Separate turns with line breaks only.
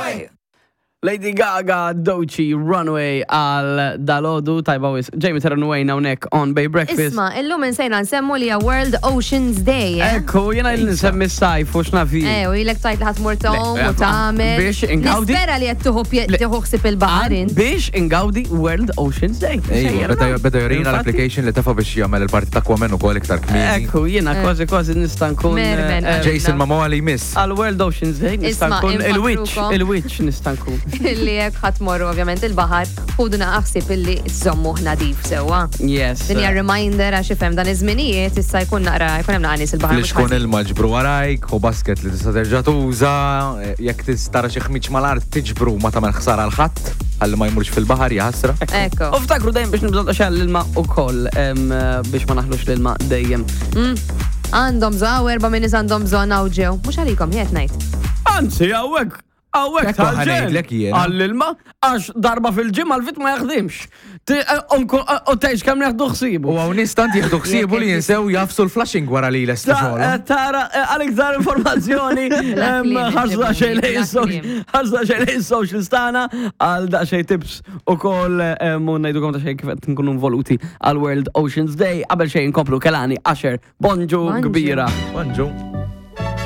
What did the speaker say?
Runaway.
Lady Gaga, Dochi, Runaway għal dalodu tajba wis. Jamie Terranway hawnhekk on Bay Breakfast.
Isma, illum insejna nsemmu li hija World Oceans Day. eh?
Ekku, jena il nsemmi s-sajf u x'nafi.
Eh, u ilek tajt li ħatmur tom
Le,
u tagħmel.
biex ingawdi.
Nispera li qed tieħu pje- tieħu ħsieb il-baħar int.
Biex ingawdi World Oceans Day.
Ejwa, beda beda jorina
Infatti-
l-application li tafa biex jagħmel il-parti ta' Aquaman ukoll iktar kmieni.
Ekku, jena kważi kważi nista' nkun.
Mermen,
eh,
Jason Momoa li jmiss.
Għal World Oceans Day nista'
Isma'
nkun il-witch,
infakkrukom.
il-witch nista' nkun.
Illi jekk ħadd morru ovvjament il-baħar, ħudu naqaħsib illi żommu nadif sewwa.
Yes.
Din hija reminder għax ifhem dan iż-żminijiet issa jkun naqra jkun hemm naqra nies il-baħar.
Li
mhux
xkun
ħażin.
ilma ġbru warajk, u basket li tista' terġa' tuża, jekk tista' xi ħmiġ mal-art tiġbru ma tagħmel ħsara għal ħadd, ħalli ma jmurx fil-baħar jaħasra.
Ekku.
U ftakru dejjem biex nibżgħu xal l-ilma ukoll em, biex ma naħlux l-ilma dejjem.
Għandhom bżonn, hawn erba' min nies għandhom bżonn hawn ġew. Mhux għalikom jien qed ngħid.
Anzi, hawnhekk, hawnhekk
Ekku ħanejdlek jiena.
Għall-ilma, għax darba fil-ġimgħa l-vit ma jaħdimx. Ti- eh, unku- eh, U tgħix kemm jaħdu ħsibu.
U hawn nies tant jieħdu ħsiebu li jinsew jafsu l-flushing wara li lestu
Ta- eh,
xogħolhom.
Tara, eh, għal iktar informazzjoni,
Bla
em,
kliem,
ħarsu daqsxejn lejn
bla
is-social-
kliem.
ħarsu daqsxejn lejn is-social stana, għal daqsxejn tips u koll u ngħidukom daqsxejn kif qed nkunu involuti għal World Oceans Day. Qabel xejn nkomplu Kelani, Asher, bonġu
Bonġu.
kbira.
Bonġu.